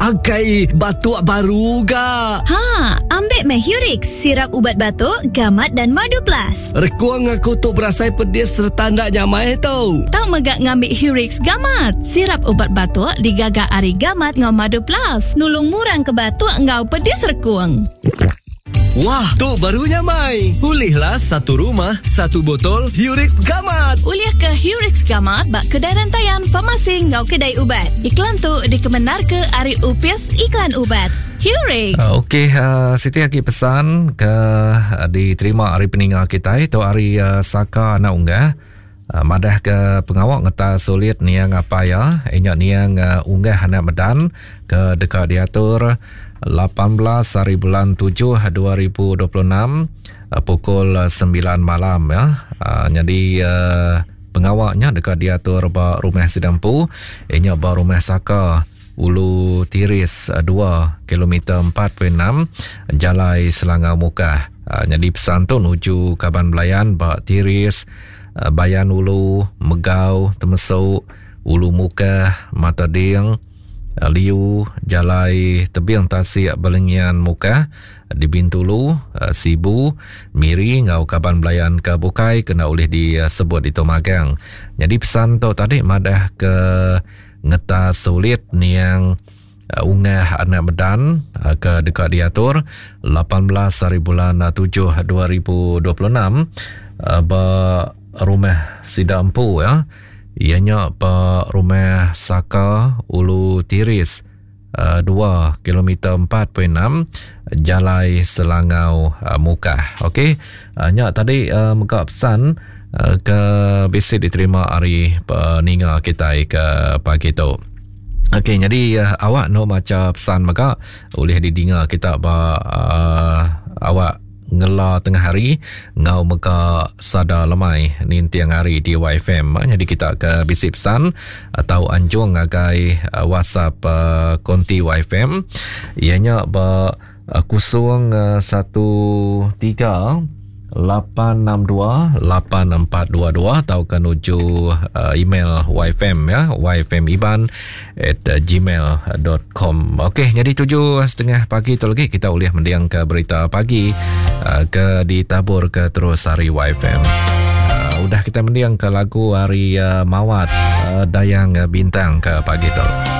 Akai batuk baru ga. Ha, ambik meh Hurix, sirap ubat batuk, gamat dan madu plus. Rekung aku tu berasai pedis sereta enda nyamai tu. Tau mega ngambi Hurix Gamat, sirap ubat batuk digaga ari gamat enggau madu plus, nulung ngurang ke batuk enggau pedis rekung. Wah, tu baru nyamai. Ulihlah satu rumah, satu botol Hurix Gamat. Ulih ke Hurix Gamat ba kedai rentayan, farmasi enggau kedai ubat. Iklan tu dikemendarka ari Opis Iklan Ubat. Hurix. Uh, Okey, uh, siti agi pesan ke uh, diterima ari peninga kitai tu ari uh, Saka anak unggah. Uh, madah ke pengawa ngetas sulit niang apai iya, inya niang uh, unggah anak medan ke deka diatur 18 hari bulan 7 2026 uh, pukul 9 malam ya. Uh, jadi uh, pengawa nya deka diatur ba rumah sida empu inya ba rumah Saka Ulu Tiris 2 kilometer 4.6 Jalai Selangau Mukah. Ah, nyadi pesan tu nuju kaban belayan ba Tiris, ah, Bayan Ulu, Megau, Temesuk, Ulu Mukah, Mata Ding, ah, Liu, Jalai Tebing Tasik Belengian Mukah, di Bintulu, Sibu, Miri enggau kaban belayan ke bukai kena ulih disebut ditu magang. Nyadi pesan tu tadi madah ke ngetas sulit niang Ungah Anak Medan ke deka diatur 18 hari bulan 7 2026 ba rumah sida empu ya. Iya nya ba rumah Saka Ulu Tiris 2 kilometer 4.6 Jalai Selangau Mukah. Okey, nya tadi mega pesan ke bisi diterima ari peninga kitai ke pagi tu. Okey, jadi uh, awak no maca pesan mega ulih didinga kita ba uh, awak ngela tengah hari ngau mega sada lemai ninting hari di YFM. Jadi kita ke bisi pesan atau anjung ngagai uh, WhatsApp uh, konti YFM ianya ba 0 1 3 862 8422 tauka nuju uh, email yfm ya yfmiban at gmail.com Okey, jadi tujuh setengah pagi tu lagi kita boleh mendiang ke berita pagi uh, ke ditabur ke terus hari YFM. Uh, udah kita mendiang ke lagu hari uh, Mawat uh, Dayang Bintang ke pagi tu.